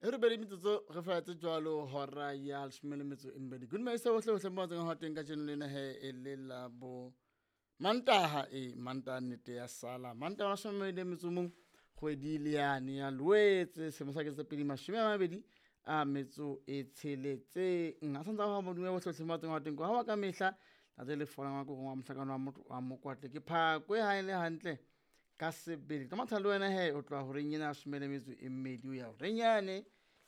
E robedi metsotso re faetse jwalo hora ya leshome le metso e mmedi. Good morning bohle bohle mo tseng ho teng kajeno lena he e le la bo Mantaha e Mantaha nnete ya sala. Mantaha wa mashome a mabedi a metso mong kgwedi le yane ya Loetse selemo sa 2026. A santse a ho modimo bohle bohle mo tseng ho teng ko ha wa ka mehla tate le fola ngwa ko wa mohlakano wa motho wa mokwatle ke phakwe ha e le hantle ka sebele. Ka matha le wena he o tloha horeng ena ya leshome le metso e mmedi o ya horeng yane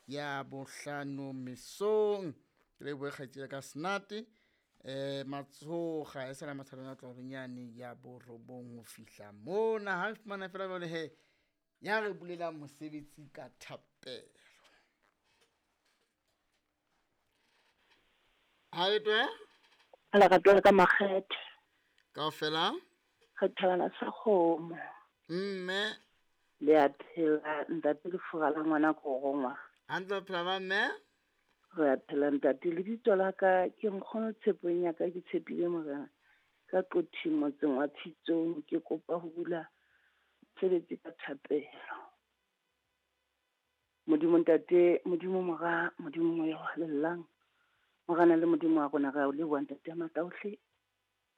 ya bohlano mesong. Ke lebohe kgaitsedi ya ka Senate Matshoga e sala mathalong a tloha horeng yane ya borobong ho fihla mona. Ha re fumana fela jwale he ya re bulelang mosebetsi ka thapelo. Ha le twe? Lerato la ka makgethe. Kaofela? Re thabana sa kgomo. Mme. Le a phela ntate lefura la ngwana ko rongwa. Hantle phela ba mme? Re a phela ntate, lebitso la ka ke nkgono tshepong ya ka ke tshepile morena ka Qothing motseng wa Tshitsong ke kopa ho bula mosebetsi ka thapelo. Modimo ntate, Modimo mora, Modimo moya o halalelang. Morena le Modimo wa rona re a o leboha ntate ya matla ohle.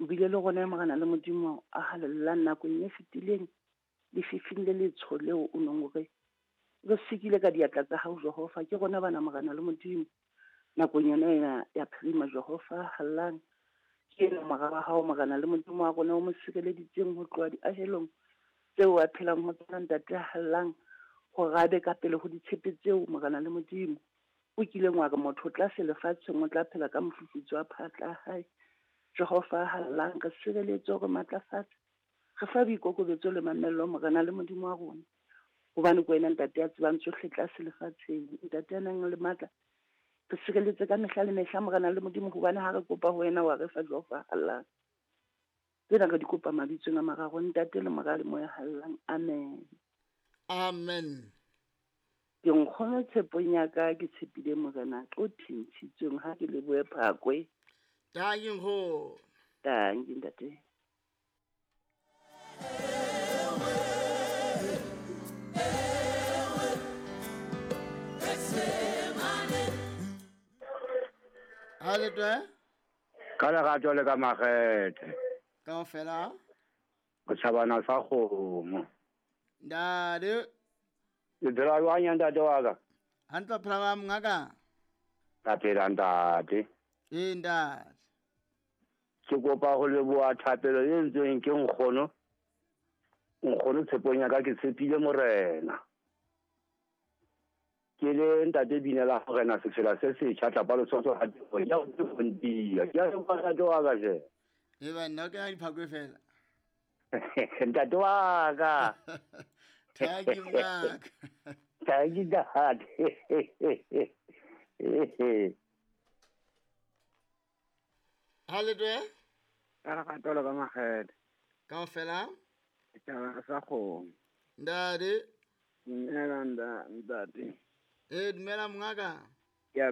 O bile le rona morena le Modimo a halalelang nakong e fetileng lefifing le letsho leo o neng o re re sikile ka diatla tsa hao Jehova. Ke rona bana morena le Modimo nakong yona ena ya phirima Jehova hallang. Ke ena mora wa hao morena le Modimo wa rona o mo sireleditseng ho tloha diahelong tseo a phelang ho tsona ntate a hallang hore a be ka pele ho ditshepe tseo morena le Modimo o kileng wa re motho o tlase lefatsheng o tla phela ka mofufutso wa phatla ya hae. Jehova hallang re sireletse hore matlafatse re fa boikokobetso le mamello morena le Modimo wa rona hobane ke wena ntate ya tsebang tsohle tlase lefatsheng ntate ya nang le matla re sireletse ka mehla le mehla morena le Modimo hobane ha re kopa ho wena wa re fa Jehova hallang. Tsena re di kopa mabitsong a mararo ntate le mora le moya hallang. Amen. Amen. Ke nkgono tshepong ya ka ke tshepile morena Qothing Tshitsong ha ke lebohe phakwe. Tanki nkgono. Tanki ntate. Ha le twe? Ka lerato le ka makgethe. Kaofela? Go tshabana sa kgomo. Ntate. Le phela jwang ya ntate wa ka? Hantle phela ba mongaka? Ka phela ntate. Ee ntate. Ke kopa ho leboha thapelo e entsweng ke nkgono. Nkgono tshepong ya ka ke tshepile morena. Ke le ntate binela morena sefela se setjha tlapa lesotho ha teng ya o tsefontia. Ke a leboha ntate wa ka je. E ba nna ke na diphakwe fela. Ntate wa ka. Thank you mongaka. Thank you ntate. Ha le twe? Ka lerato le ka makgethe. Kaofela? Tjhabana sa kgomo. Ntate. Dumela ntate. Eh dumela mongaka. Ke a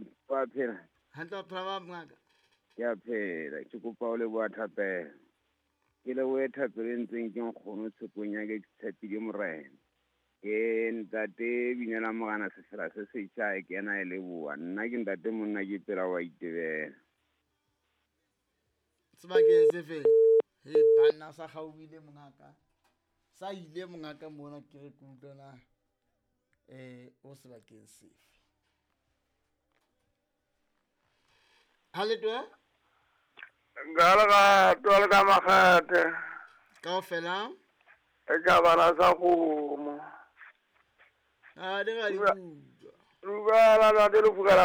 phela. Hantle phela ba mongaka. Ke a phela, ke kopa ho leboha thapelo. Ke lebohe thapelo e ntseng ke nkgono tshepong ya ka ke tshepile morena. Ke ntate binela morena sefela se setjha e kena e leboha. Nna ke ntate monna ke pela wa itebela. Sebakeng se feng? He banna sa kgaohile mongaka. Sa ile mongaka mona ke re ke utlwe na o sebakeng sefe. Ha le twe? Ka lerato le ka makgethe. Kaofela? E ka bana sa kgomo. A di ga di utlwa. Dumela ntate lefura la